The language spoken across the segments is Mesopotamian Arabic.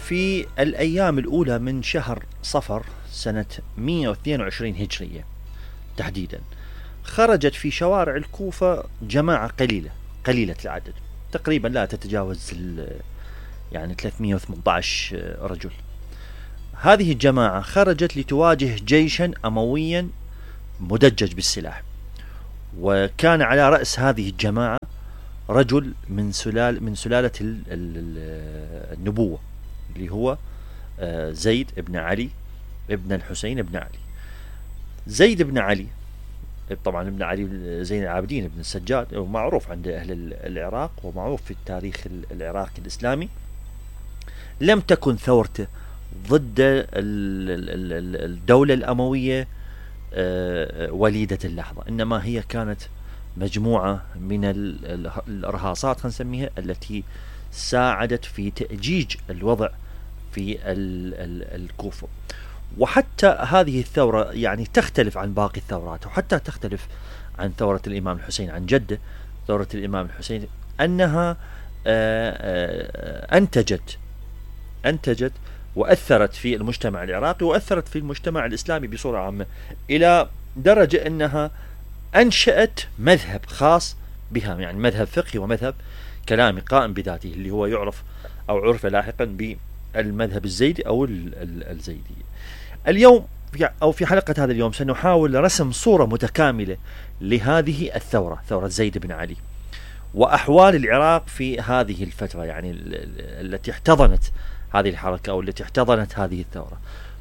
في الأيام الأولى من شهر صفر سنة 122 هجرية تحديدا، خرجت في شوارع الكوفة جماعة قليلة العدد، تقريبا لا تتجاوز يعني 318 رجل. هذه الجماعة خرجت لتواجه جيشا أمويا مدجج بالسلاح، وكان على رأس هذه الجماعة رجل من سلالة النبوة، اللي هو زيد بن علي ابن الحسين بن علي. زيد بن علي طبعا ابن علي زين العابدين ابن السجاد، ومعروف عند أهل العراق ومعروف في التاريخ العراقي الإسلامي. لم تكن ثورته ضد الدولة الأموية وليدة اللحظة، إنما هي كانت مجموعة من الإرهاصات خلينا نسميها، التي ساعدت في تأجيج الوضع في الكوفة. وحتى هذه الثورة يعني تختلف عن باقي الثورات، وحتى تختلف عن ثورة الإمام الحسين عن جده. ثورة الإمام الحسين أنها أنتجت وأثرت في المجتمع العراقي، وأثرت في المجتمع الإسلامي بصورة عامة، إلى درجة أنها أنشأت مذهب خاص بها، يعني مذهب فقهي ومذهب كلامي قائم بذاته، اللي هو يعرف أو عرف لاحقا بالمذهب الزيدي أو الزيدية. اليوم أو في حلقة هذا اليوم سنحاول رسم صورة متكاملة لهذه الثورة، ثورة زيد بن علي، وأحوال العراق في هذه الفترة، يعني التي احتضنت هذه الحركة أو التي احتضنت هذه الثورة،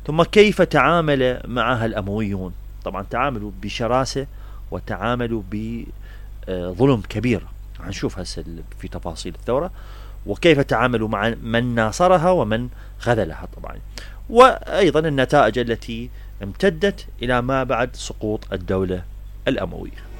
ثم كيف تعامل معها الأمويون. طبعا تعاملوا بشراسة وتعاملوا بظلم كبير، هنشوف هسه في تفاصيل الثورة، وكيف تعاملوا مع من ناصرها ومن خذلها طبعا، وأيضا النتائج التي امتدت إلى ما بعد سقوط الدولة الأموية.